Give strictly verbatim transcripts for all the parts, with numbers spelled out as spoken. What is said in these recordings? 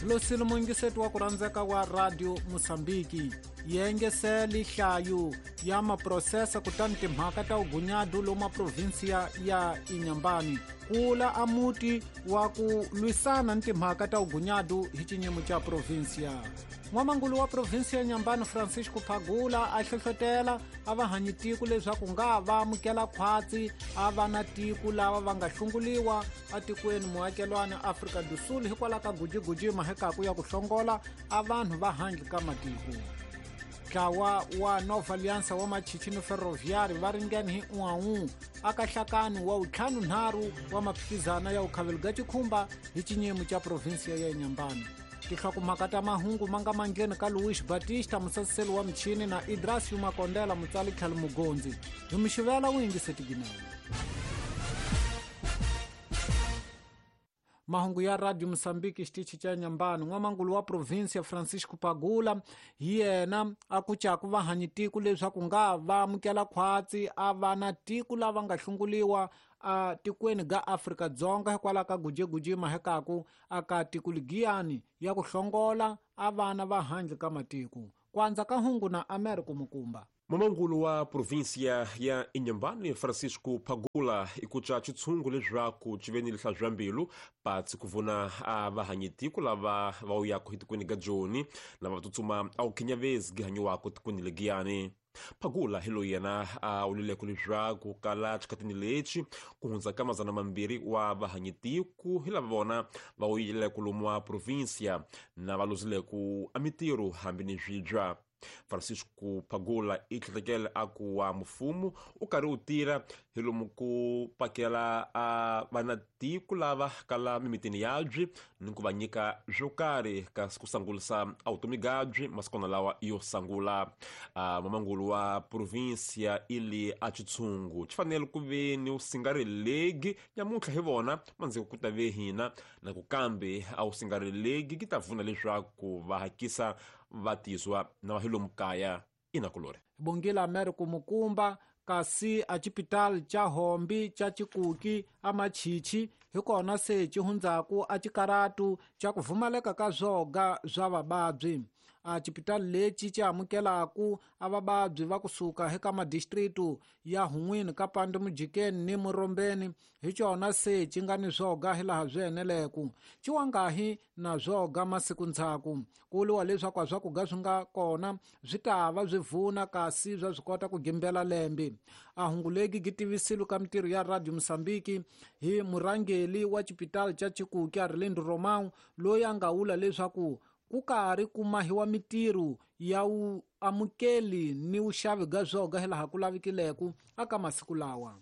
Losile mungiseti wa ku rhandzeka wa Radio Mosambiki yengeseli hlayu ya maprosesa kutani timhaka ta ugunyadu loma provinsia ya Inhambane kula amuti wa ku lwisana ni timhaka ta ugunyadu hi xinyimo xa provinsia. N'wamangulu wa provinsia ya Inhambane Francisco Pagula a hlohlotela a va hanyi tiko leswaku nga va amukela khwatsi a va na tiko lava va nga hlunguliwa atikweni muakelwani Afrika do Sul hikwalaho ka gujiguji mahekaku ya ku hlongola a vanhu va handle ka matiko. Ntlawa wa Nova Aliança wa Machichini Ferroviário va ringene hi un'we aka nhlakani wa ntlhanu-nharhu wa maphikizana ya ukhavelo ga chikhumba hi xinyimo xa provinsia ya Inhambane. Tinhlokomhaka ta mahungu ma nga mangheni ka Luis Batista musasiseli wa michini na Idrasio Makondela mutsali tlhelo mugondzi. Hi mixivela wu yingiseti ginene. Mahungu ya Radio Mosambiki xitichi xa Inhambane. N'wamangulu wa provinsia Francisco Pagula hi yena a kucaku vahanyi tiko leswaku nga va amukela khwatsi a va na tiko lava nga hlunguliwa a tikweni ga Afrika Dzonga hikwalaho ka gujeguji mahekaku aka tiko ligiyani ya ku hlongola a vana va handle ka matiko. Kwanza ka hungu na Americo Mukumba. Mamangulu wa provinsia ya Inhambane Francisco Pagula ikuca xitshungu leswaku xi ve ni lihlazwambilu patsi ku vona a vahanyitiko lava va uyaka etikweni ga Joni lava va tsutsuma a wu khinyavezi gihanyiwaka tikweni legiyani. Pagula hi loyi yena a wulileko leswaku kala xikhatini lexi ku hundza ka mazana mambirhi wa vahanyitiko hi lava vona va wuyileko lomu wa provinsia na va luzileko a mitirho hambi ni swibya. Francisco Pagula i tlhekele a ku wa mfumo u karhi u tirha hi lomu ku pakela a vanatiko lava kala mimitini yabyi ni ku va nyika swo karhi kasi ku sangulisa a vutomi byabyi masikwana lawa yo sangula. A mamangulu wa provinsia ili a xitshungu xi fanele ku ve ni u singarelegi nyamuntlha hi vona mandziko ku ta ve hina na ku kambe a wu singarelegi ki ta vuna leswaku va hakisa vatizwa na vahilomu kaya inakulore. Bongela Americo Mukumba kasi a xipitali xa Hombi xa Chikuki a Machichi hi kona se xi hundzaku a xikaratu xa ku pfumaleka ka swoga swa vavabyi. A xipitali lexi xi amukelaku a vavabyi va kusuka eka madistritu ya Hun'wini ka Pande Mujikeni ni Murombeni hi xona se xi nga ni swoga hilaha swi eneleku. Xi wangahi na swoga masiku ndzhaku. Ku vuriwa leswaku a swakudya swi nga kona swi ta va swi vuna kasi swa swi kota ku gimbela lembe. A hungu legi gi tivisile ka mitirho ya Radio Mosambiki hi murhangeli wa xipitali xa Chikuki Arlindo Romão loyi a nga vula leswaku ku karhi ku mahiwa mitirho ya wu amukeli ni vuxavi bya swoga hilaha ku lavikileko aka masiku lawa.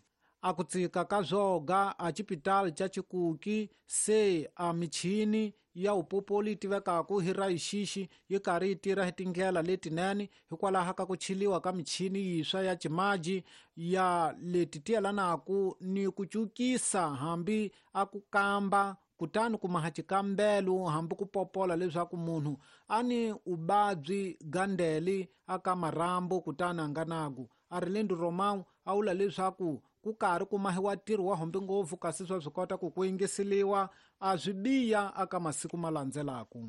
A ku tsika ka swoga a xipitali xa Chikuki se a michini ya upopoli yi tivekaku hi rayixixi yi karhi yi tirha hi tindlela letinene hikwalaho ka ku chiliwa ka michini yintshwa ya ximaji ya leti ti yelanaku ni ku cukisa hambi a ku kamba kutani ku maha xikambelo hambi ku popola leswaku munhu a ni vuvabyi gandeli aka marhambu kutani a nga naku. Arlindo Romão a vula leswaku ku karhi ku mahiwa ntirho wa hombi ngopfu kasi swa swi kota ku ku yingiseliwa a swi biya aka masiku ma landzelaku.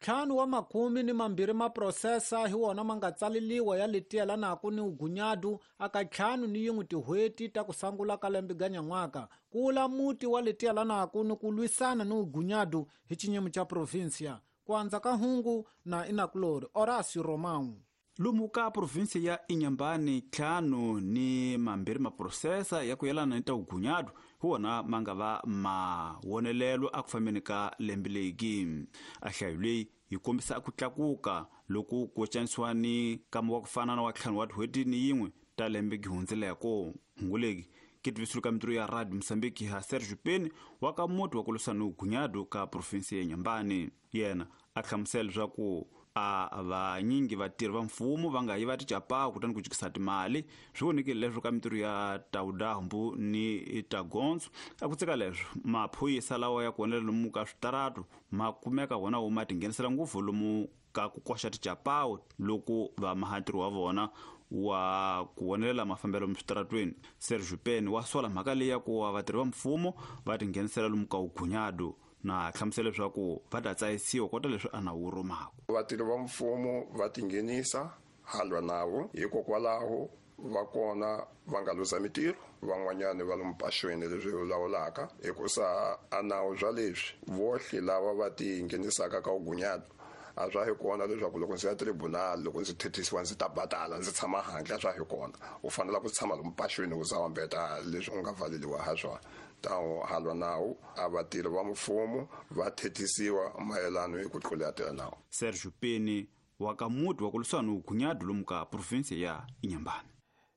Ntlhanu wa makhumi ni mambirhi maprosesa hi wona ma nga tsaleliwa ya leti yelanaku ni ugunyadu aka ntlhanu ni yin'we tin'hweti ta ku sangula ka lembe ga nyan'waka ku vula muti wa leti yelanaku ni ku lwisana ni ugunyadu hi xinyimo xa provinsia. Ku andza ka hungu na Inakulori Horacio Romão. Lomu ka provinsia ya Inhambane ntlhanu ni mambirhi maprosesa ya ku yelana ni ta ugunyadu hi wona ma nga va mawonelelo a ku fambeni ka lembe legi. A hlayo leyi yi kombisa ku tlakuka loko ku cinisiwa ni nkama wa ku fana na wa ntlhanu wa tin'hweti ni yin'we ta lembe gi hundzeleko. Hungu legi ki tivisile ka mitirho ya Radio Mosambiki ha Sergio Peni wa ka muti wa ku lwisana ni ugunyadu ka provinsia ya Inhambane. Yena a hlamusela leswaku a vanyingi vatirhi va mfumo va nga yiva ticapawu kutani ku jikisa timali swi vonekile leswo ka mitirho ya tawudambu ni tagondzo. A ku tsika leswo maphorisa lawa ya ku onela lomu ka switaratu ma kumeka wona wo ma tinghenisela ngopfu lomu ka ku koxa ticapawu loko va maha ntirho wa vona wa ku vonelela mafambelo miswitaratweni. Sergio Peni wa sola mhaka leyi ya ku va vatirhi va mfumo va tinghenisela lomu ka ugunyadu Na hlamusela leswaku va ta tsayisiwa kota leswi a nawu rumaka. Vatirhi va mfumo va tinghenisa halwa nawu hikokwalaho va kona va nga luza mitirho, van'wanyana va lomu paxweni leswi lawulaka hikusa a nawu bya leswi vohle lava va tinghenisaka ka vugunyati a swa hi kona leswaku loko ndzi ya tribunal loko ndzi thethisiwa ndzi ta badala ndzi tshama handle a swa hi kona. U fanele ku tshama lomu paxweni u za wambeta leswi u nga valeliwa ha swona. Tawo halwa nawu a vatirhi va mfumo va thethisiwa mayelana hi ku tlula nawu. Sergio Peni wa ka muti wa ku lwisana vugunyati lomu ka province ya Inhambane.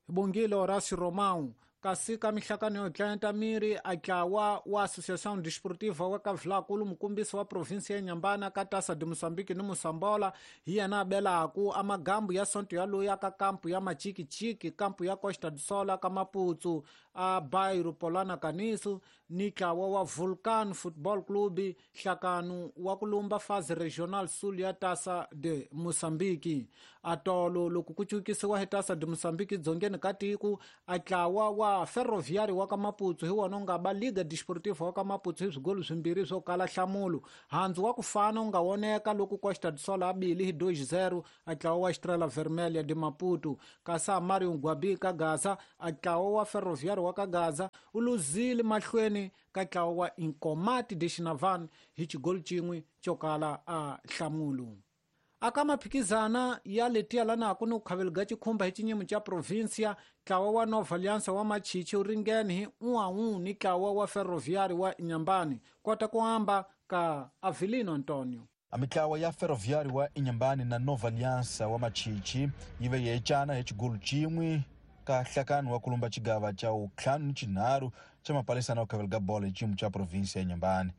Bongile Horacio Romão kasi ka mihlakano yo tlanta miri a tlawa wa Associação Desportiva wa Kavlakulu mukumbisi wa province ya Inhambane ka Taça de Moçambique ni Moçambola hi yena abelaku a magambu ya sonto ya loya ka kampu ya Machikichiki kampu ya Costa do Sol ka Maputo a Bairro Polana Caniço ni tlawa wa Vulcan Football Club hlakano wa kulumba fase regional sul ya Taça de Moçambique. Atolo loko ku cukisiwa hi Taça de Moçambique dzongeni ka tiko a tlawa wa Ferroviário wa ka Maputo hi wona nga ba Liga Desportiva wa ka Maputo hi swigolo swimbirhi swo kala nhlamulo. Handzu wa ku fana u nga voneka loko Costa do Sol a bile hi dois zero a tlawa wa Estrela Vermelha de Maputo. Kasi a Mario Ngwabi ka Gaza a tlawa wa Ferroviário wa ka Gaza u luzile mahlweni ka tlawa wa Inkomati de Xinavane hi xigolo xin'we xo kala a nhlamulo. Aka maphikizana ya letiya lanaku ni ku khaveliga xikhumba hi xinyimo xa provincia tlawa wa Nova Aliança wa Machichi wu ringene hi un'we ni tlawa wa Ferroviário wa Inhambane kota ku amba ka Avelino Antonio. A mitlawa ya Ferroviário wa Inhambane na Nova Aliança wa Machichi yi ve yecana hi xigolo xin'we ka hlakano wa kulumba xigava xa vuntlhanu ni xinharhu xa mapalisana wa khaveliga bolo hi xiyimo xa provinsia ya Inhambane.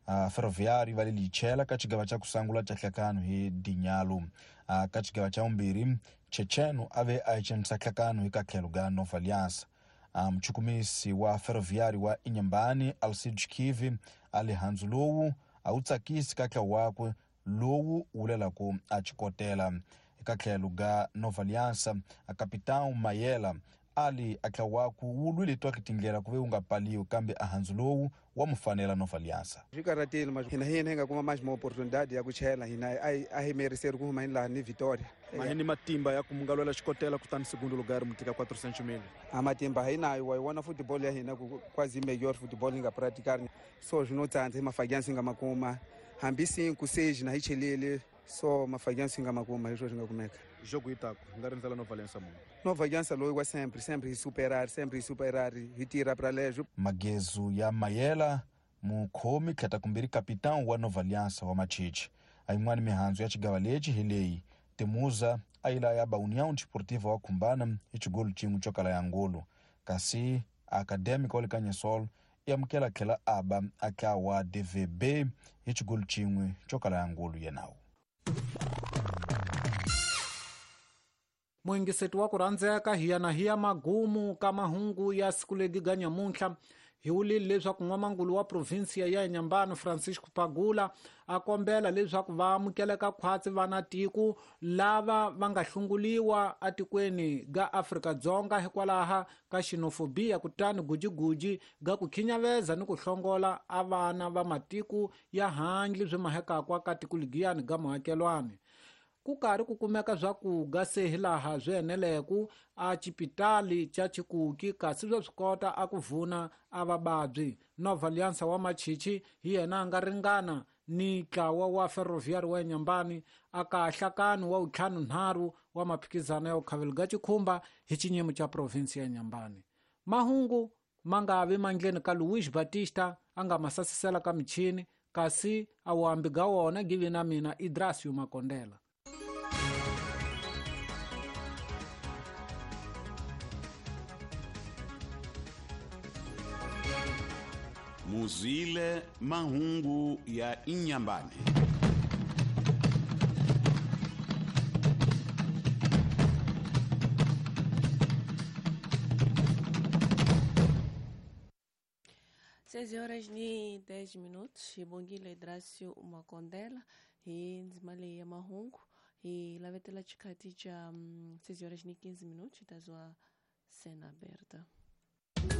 Uh, Ferroviário va le lichela ka xigava xa ku sungula xa hlakano hi Dinyalu. Uh, ka xigava xa vumbirhi Checheno a ve a cenisa hlakano hi ka tlhelo ga Nova Aliança. Uh, muchukumisi wa Ferroviário wa Inhambane Alcides Kivi a le handzu lowu a wu tsakisi ka tlhelo wakwe lowu wulelaku a xikotela. Eka tlhelo ga Nova Aliança a capitão Mayela ali a tlhelo wakwe wu lwile twaki tindlela ku ve wu nga paliwi kambe a handzu lowu wa mufanela Nova Aliança. Swi karhatile mas hina hina hi nga kuma mais uma oportunidade ya ku chela hina a hi meriseri ku huma hi laha ni Vitória. Ma ni matimba ya ku munga lwela xikotela kutani segundo lugar mu tika quatrocentos mil. A matimba hi nayo wa wona football ya hina ku quase melhor football hi nga praticar so zwinotsandza hi mafagyansi nga makuma hambi cinco seis na hi chelele so mafagyansi nga makuma hi swo swi nga kumeka. Jogo itaku nga rindzela Nova Aliança munhu. Nova Aliança loyi wa sempre sempre hi superar sempre hi superar hi tira pra lejo. Magezu ya Mayela mukhomi tlheta kumbirhi capitão wa Nova Aliança wa Machichi. A yin'wana mihandzu ya xigava lexi hi leyi Temuza a yi laya ba União Desportiva wa Khumbana hi xigolo xin'we xo kala ya ngolo kasi Acadêmica wa le Kanyesol i amukela tlhela a ba a tlawa D V B hi xigolo xin'we xo kala ya ngolo yenawu. Muingiseti wa ku rhandzeka hi yana hi ya magumu ka mahungu ya siku legi ga nyamuntlha hi wulile leswaku n'wamangulu wa provinsia ya Inhambane Francisco Pagula a kombela leswaku va amukeleka khwatsi vana tiko lava va nga hlunguliwa atikweni ga Afrika-Dzonga hikwalaha ka xenofobia kutani gujiguji ga ku khinyaveza ni ku hlongola a vana va matiko ya handle byi mahekakwa ka tiko ligiyani ga muakelwani. Ku karhi ku kumeka swakuga se hilaha swi eneleku a xipitali xa Chikuki kasi swa swi kota a ku vuna a vavabyi. Nova Aliança wa Machichi hi yena a nga ringana ni ntlawa wa Ferroviário wa Inhambane a ka hlakano wa vuntlhanunharhu wa maphikizano ya vukhaveli xikhumba hi xinyimo xa provinsi ya Inhambane. Mahungu ma nga vi mandleni ka Luis Batista a nga ma sasisela ka michini kasi a wuhambi ga wona give na mina Idrasio Makondela. Muzile mahungu ya Inhambane. Seis horas e dez minutos, Bongile Idrasio Makondela, e ndzimale ya mahungu, e lavetela xikati xa seis horas e quinze minutos, tazwa cena aberta.